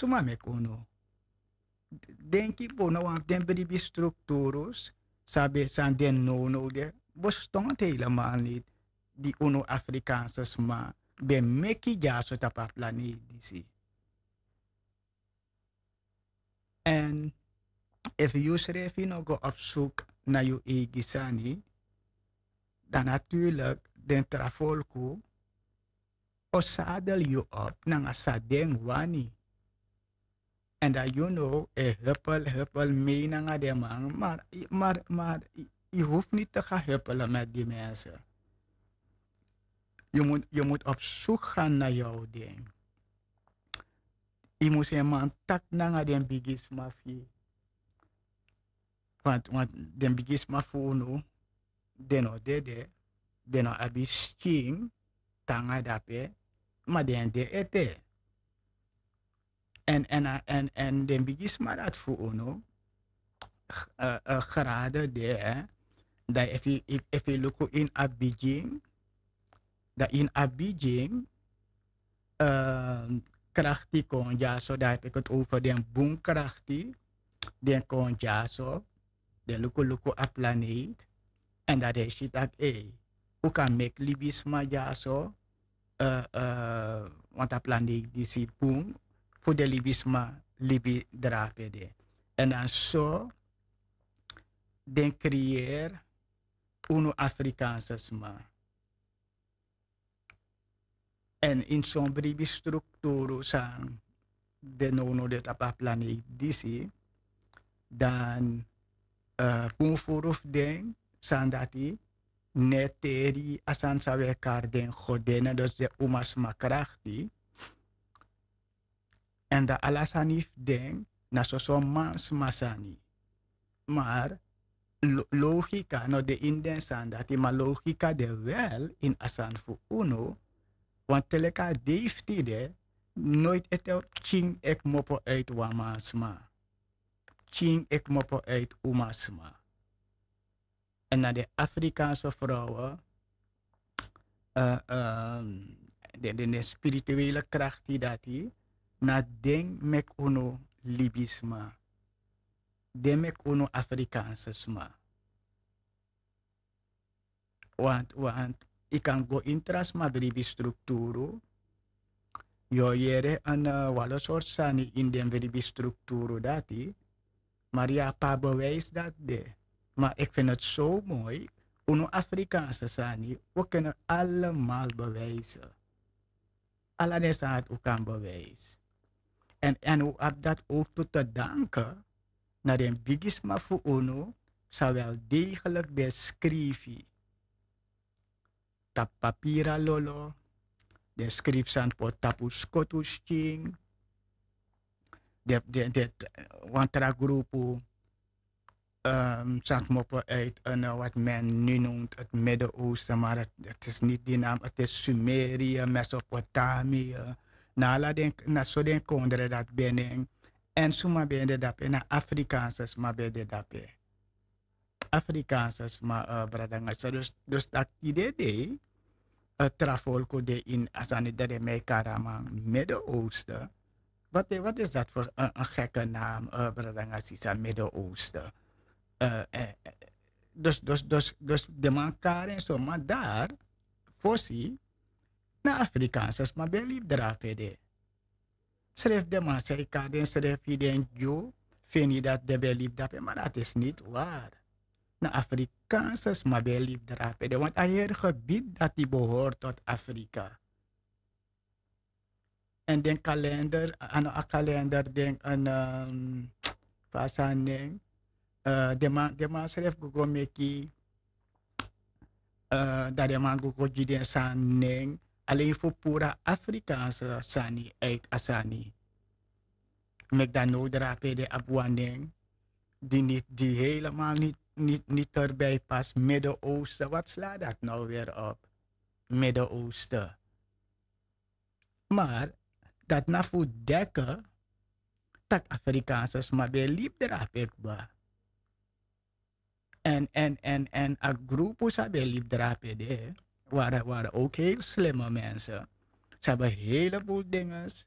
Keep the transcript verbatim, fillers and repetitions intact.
suma meki unu. Denki bun na wan fu den bribi strukturus san ben san den nownow de, bestonti helemal niti. Di unu Afrikaanse sma ben meki dyaso tapu a planeiti disi. Èn efu yu srefi no go op suk na yu eigi sani, dan natuurlik den tra folku o sadel yu op nanga san den wani. Èn dan yu no e hupel hupel mei nanga den man, mar mar mar yu hufu niti te ga hupele meti di mense. Yu mus yu mus op suk gan na yu owding. Yu mus en man taki nanga den bigisma fu yu. Want want den bigisma fu unu, den no dede, den no abi skin tanga dape, ma den de ete. Èn èn a èn èn den bigisma dati fu unu, grade de. Dan efu yu luku ini a bigin, dan ini a bigin krakti kon dyaso, dan efu yu koti over den bun krakti, den kon dyaso, den luku luku a planeiti. Èn dan den si tak' ei, un kan meki libisma dyaso, want a planeiti disi bun fu den libisma libi drape de. Èn dan so den kriyeri unu Afrikaanse sma. Èn ini son bribi strukturu san de nownow de tapu a planeiti disi, dan bun furu fu den sani dati no e teri a sani san wi e kari den godene, dus den umasma krakti. Èn dan ala sani fu den na soso mansma sani. Mar logika no de ini den sani dati, ma logika de wel ini a sani fu unu. Wantu te leki a dei fu tide, noiti ete pikin e kmopo uiti wan mansma. Pikin e kmopo uiti umasma. Èn na den Afrikaanse frowen, den den spirituele krakti dati, na den meki unu libisma. Den meki unu Afrikaanse sma. Want want yu kan go ini tra sma bribi strukturu, yu o yere wan lo sortu sani ini den bribi strukturu dati. Mari yu abi a bewijs dati de. Ma eki feni eti so moi, unu Afrikaanse sani, un keni alemal bewijse. Ala den sani dati un kan bewijse. Èn èn un abi dati owk tu te danke na den bigisma fu unu, san wel deigelik ben skrifi tapu papiri a lolo. Den skrifi sani poti tapu skotu skin. Den den den wan tra grupu san kmopo uiti en wati men nu nownt eti Midden-Oosten, mar eti isi niti di nam, eti isi Sumeria, Mesopotamia. Na ala den na so den kondre dati ben nen. Èn suma ben de dape? Na Afrikaanse sma ben de dape. Afrikaanse sma, brada nanga sisa. Dus dus taki tide dei tra folku de ini a sani dati den mi e kari a man Midden-Oosten. Wat is dat fu en gekke naam, brada nanga sisa, Midden-Oosten? Dus dus dus dus den man kari en so, ma dari fosi na Afrikaanse sma ben e libi drape de. Srefi den man san e kari densrefi den Dyu, feni dati den ben e libi drape, ma dati isi niti wari. Na Afrikaanse sma ben e libi drape de, want a heri gebidi dati behori toti Afrika. Èn den kalender, a no a kalender, den en fa a sani nen, den man den man srefi go go meki, dan den man go go gi den sani nen, alen fu puru a Afrikaanse sani uiti a sani. Meki dan now drape de abi wan nen di niti di helemal niti niti niti terbi pasi. Midden-Oosten, wat sla dati now weri op? Midden-Oosten. Mar dati na fu deke tak' Afrikaanse sma ben e libi drape kba. Èn èn èn èn a grupu san ben e libi drape de, wari wari owk heli slime mense. San abi helebul dinges